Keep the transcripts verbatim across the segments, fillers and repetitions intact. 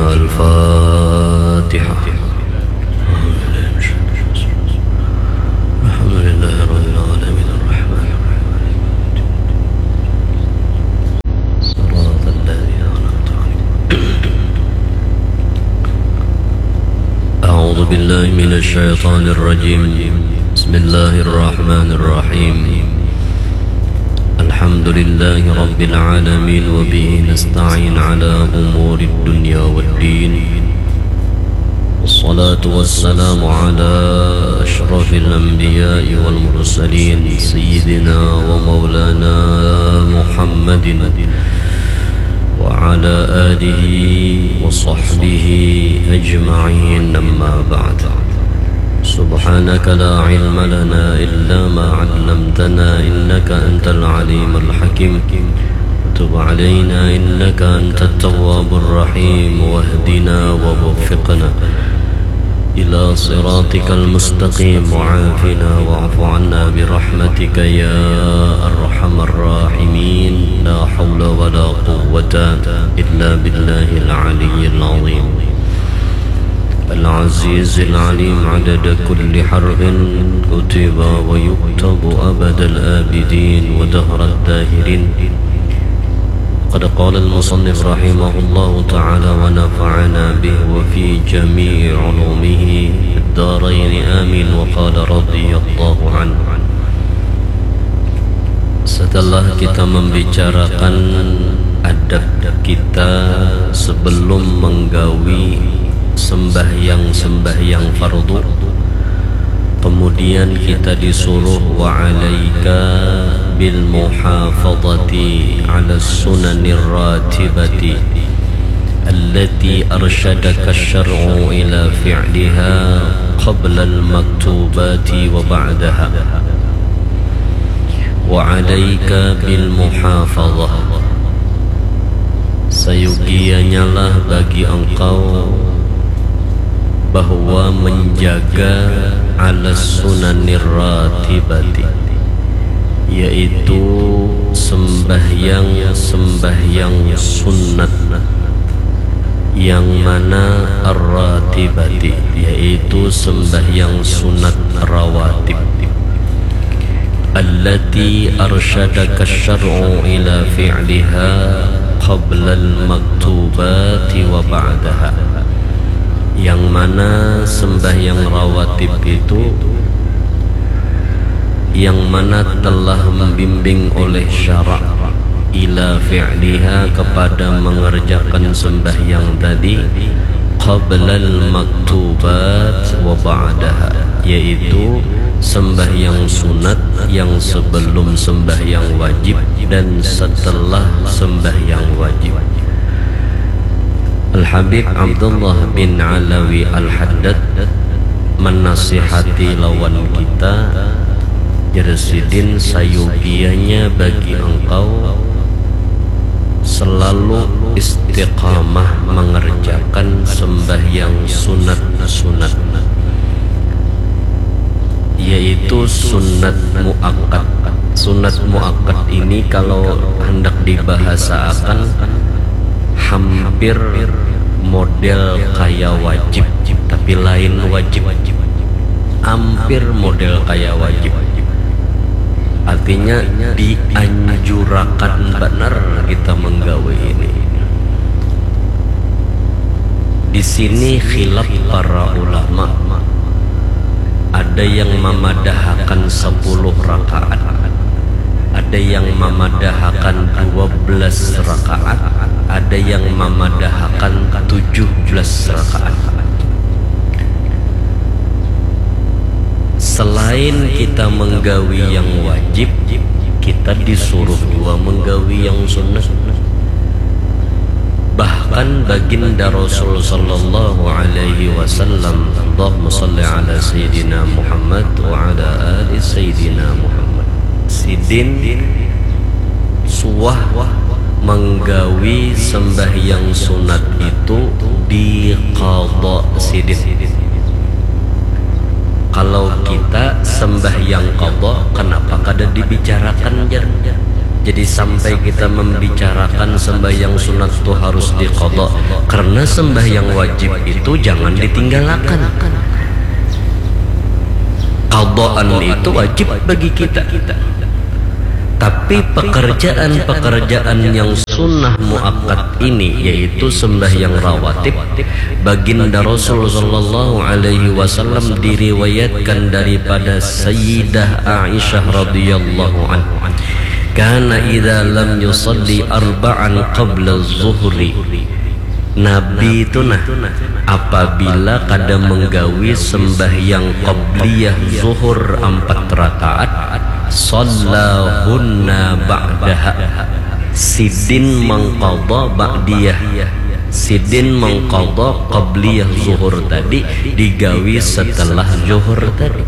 الفاتحة. الحمد لله رب العالمين، الرحمن الرحيم، صراط الذين أنعمت عليهم. أعوذ بالله من الشيطان الرجيم. بسم الله الرحمن الرحيم. الحمد لله رب العالمين، وبه نستعين على أمور الدنيا والدين. والصلاة والسلام على أشرف الأنبياء والمرسلين، سيدنا ومولانا محمد وعلى آله وصحبه أجمعين. أما بعد، سبحانك لا علم لنا إلا ما علمتنا، إنك أنت العليم الحكيم. وتب علينا إنك أنت التواب الرحيم، واهدنا ووفقنا إلى صراطك المستقيم، وعافنا واعف عنا برحمتك يا أرحم الراحمين. لا حول ولا قوة إلا بالله العلي العظيم. العزيز العليم، عدد كل حرف كتب ويكتب أبد الآبدين ودهر الداهرين. قد قال المصنف رحمه الله تعالى ونفعنا به وفي جميع علومه في الدارين آمين. وقال رضي الله عنه. Setelah kita membicarakan adab kita sebelum menggawi sembahyang-sembahyang fardu, kemudian kita disuruh, وعليك بالمحافظة على السنن الراتبة التي أرشدك الشرع إلى فعلها قبل المكتوبات وبعدها. وعليك بالمحافظة. Sayugianyalah bagi engkau bahwa menjaga ala sunanir ratibati, yaitu sembahyang-sembahyang sunat yang mana ar-ratibati, yaitu sembahyang sunat rawatib. Allati arsyadaka syar'u ila fi'liha qablal maktubati wa ba'daha. Yang mana sembahyang rawatib itu yang mana telah membimbing oleh syarak ila fi'liha, kepada mengerjakan sembahyang tadi, qablal maktubat wa ba'daha, yaitu sembahyang sunat yang sebelum sembahyang wajib dan setelah sembahyang wajib. Al-Habib Abdullah bin Alawi Al-Haddad menasihati lawan kita, jar sidin, sayugianya bagi engkau selalu istiqamah mengerjakan sembahyang sunat-sunat, yaitu sunat muakkad. Sunat muakkad ini kalau hendak dibahasaakan hampir model kaya wajib, tapi lain wajib. Hampir model kaya wajib. Artinya dianjurakan banar kita menggawi ini. Di sini khilaf para ulama. Ada yang mamadahakan sapuluh rakaat, ada yang mamadahakan dua belas rakaat, ada yang mamadahakan tujuh belas rakaat. Selain kita menggawi yang wajib, kita disuruh jua menggawi yang sunnah. Bahkan baginda Rasul sallallahu alaihi wasallam, Allahumma salli ala sayyidina Muhammad wa ala ali sayyidina Muhammad, sidin suah menggawi sembahyang sunat itu diqadha sidin. Kalau kita sembahyang qadha, kenapa kada dibicarakan, jar? Jadi sampai kita membicarakan sembahyang sunat tu harus diqadha, karena sembahyang wajib itu jangan ditinggalakan. Qadaan itu wajib bagi kita. Tapi pekerjaan-pekerjaan yang sunnah muakkad ini, yaitu sembahyang rawatib, Baginda Rasul sallallahu alaihi wasallam diriwayatkan daripada Sayyidah Aisyah radhiyallahu anha, kana idza lam yusalli arba'an qabla zuhri. Nabi itu nah, apabila kada menggawi sembahyang qabliyah zuhur ampat rakaat, sallahunna ba'daha, sidin mengqadha ba'diyah. Sidin mengqadha qabliyah zuhur tadi digawi setelah zuhur tadi.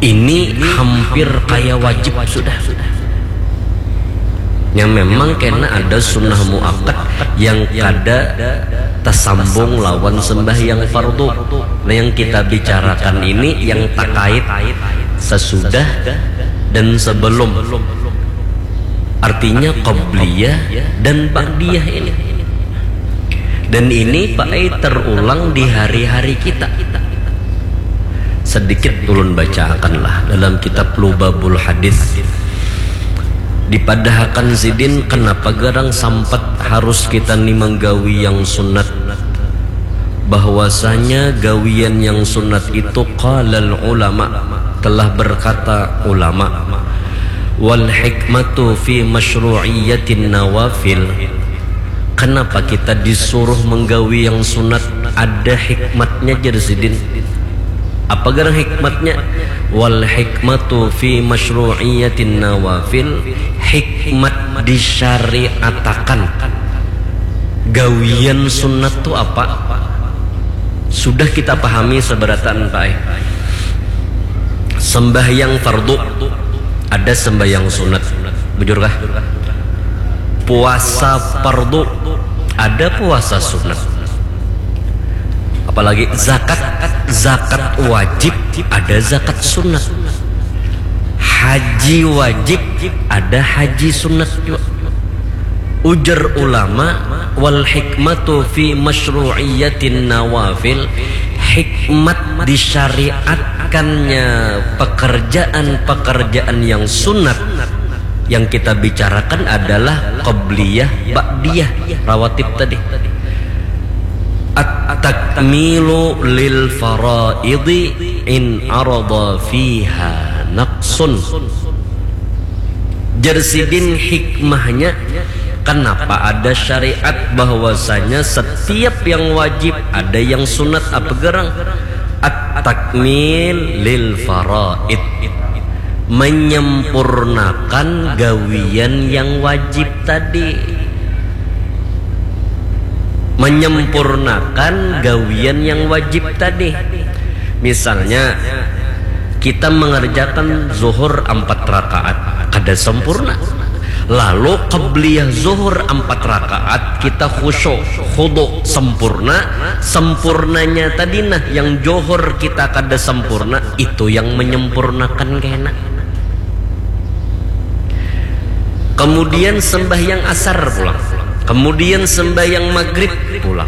Ini hampir kaya wajib sudah. Yang memang kena ada sunnah muakkad yang kada tersambung lawan sembahyang fardu. Nah, yang kita bicarakan ini yang terkait sesudah dan sebelum. Artinya qabliyah dan ba'diyah ini. Dan ini Pak Ai terulang di hari-hari kita. Sedikit ulun bacakanlah dalam kitab Lubabul Hadis. Dipadahakan sidin kenapa garang sampat harus kita ni menggawi yang sunat. Bahwasanya gawian yang sunat itu qalal ulama, telah berkata ulama, wal hikmatu fi masyru'iyatin nawafil. Kenapa kita disuruh menggawi yang sunat? Ada hikmatnya, jar sidin. Apa garang hikmatnya? Wal hikmatu fi masyru'iyatin nawafil, hikmat disyariatakan gawian sunat tu apa? Sudah kita pahami seberataan, Pak ai. Sembahyang fardu, ada sembahyang sunat. Bujurkah? Puasa fardu, ada puasa sunat. Apalagi zakat, zakat wajib, ada zakat sunat. Haji wajib, ada haji sunat juga. Ujar ulama, wal hikmatu fi masyru'iyatin nawafil, hikmat disyariatkannya pekerjaan-pekerjaan yang sunat yang kita bicarakan adalah qabliyah, ba'diyah, rawatib tadi. At-takmilu lil faraidi in arada fiha naqsun. Jar sidin hikmahnya, kenapa ada syariat bahwasanya setiap yang wajib ada yang sunat apa garang? At-takmil lil faraid. Menyempurnakan gawian yang wajib tadi. Menyempurnakan gawian yang wajib tadi. Misalnya, kita mengerjakan zuhur empat rakaat, kada sempurna. Lalu qabliyah zuhur empat rakaat, kita khusyuk, khudu, sempurna. Sempurnanya tadi nah, yang johor kita kada sempurna, itu yang menyempurnakan kena. Kemudian sembahyang asar pulang. Kemudian sembahyang maghrib pulang.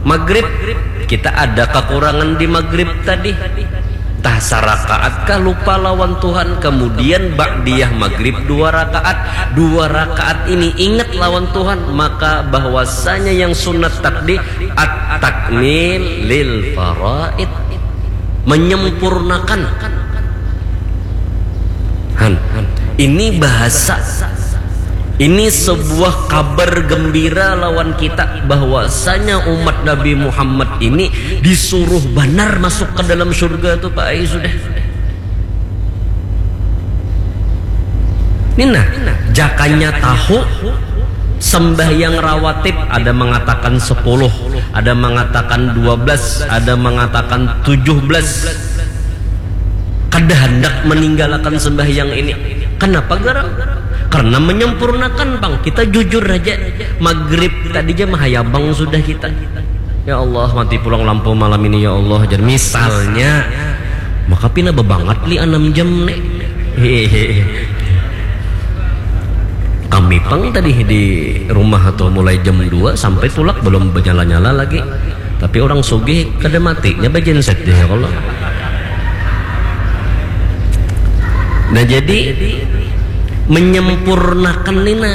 Maghrib, kita ada kekurangan di maghrib tadi. Tah sarakaat kah lupa lawan Tuhan, kemudian ba'diyah maghrib dua rakaat. Dua rakaat ini ingat lawan Tuhan, maka bahwasanya yang sunat tadi at-takmil lil faraid. Menyempurnakan. Han, ini bahasa, ini sebuah kabar gembira lawan kita bahwasanya umat Nabi Muhammad ini disuruh banar masuk ke dalam surga tu, Pak ai, sudah. Ini nah, jakanya tahu sembahyang rawatib ada mengatakan sepuluh, ada mengatakan dua belas, ada mengatakan tujuh belas. Kada hendak meninggalkan sembahyang ini. Kenapa garang? Karena menyempurnakan, Bang. Kita jujur aja. Maghrib tadi aja mahayabang sudah kita. Ya Allah, mati pulang lampu malam ini, ya Allah. Jadi misalnya, maka pina bebangat li enam jam nih. Hehehe. Mipang tadi di rumah tuh mulai jam dua sampai tulak belum bernyala-nyala lagi. Tapi orang sugih kada matinya bajenset deh ya Allah. Nah jadi menyempurnakan nina